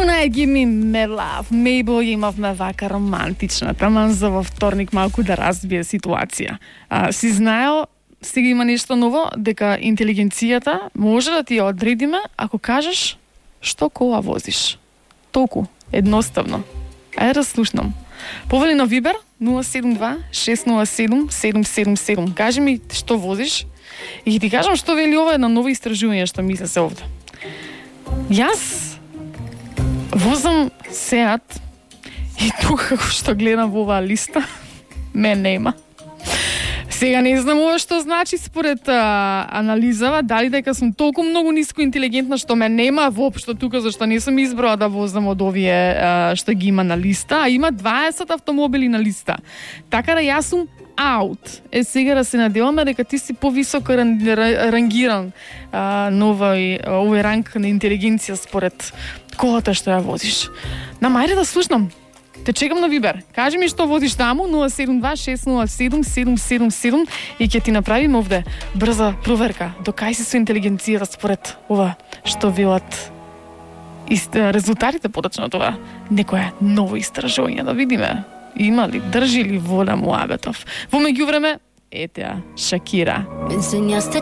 Tonight give me mad love. Maybe имавме вака романтична, таман за во вторник малку да разбие ситуација. Си знаел, сега има нешто ново, дека интелигенцијата може да ти ја одредиме ако кажеш што кола возиш. Толку, едноставно. Ајде да слушнам. Повели на Вибер 072-607-777. Кажи ми што возиш и ќе ти кажам што вели ова една нова истражување што мисле се овде. Јас возам Сеат и тука како што гледам во оваа листа, ме нема. Сега не знам ова што значи според анализава, дали дека сум толку многу ниско интелигентна што ме нема воопшто тука, зашто не сум избрала да возам од овие што ги има на листа, а има 20 автомобили на листа. Така да јас сум аут. Сега да се надеваме дека ти си повисоко рангиран на овој ранг на интелигенција според колата што ја возиш. Ајде да слушнам. Те чекам на Вибер. Кажи ми што возиш таму 072-607-777 и ќе ти направим овде брза проверка. До кај си со интелигенцијата според ова што велат резултатите поточно тоа. Некое ново истражување да видиме. Има ли, држи ли вода Муабетов? Во меѓувреме, ете ја, Шакира.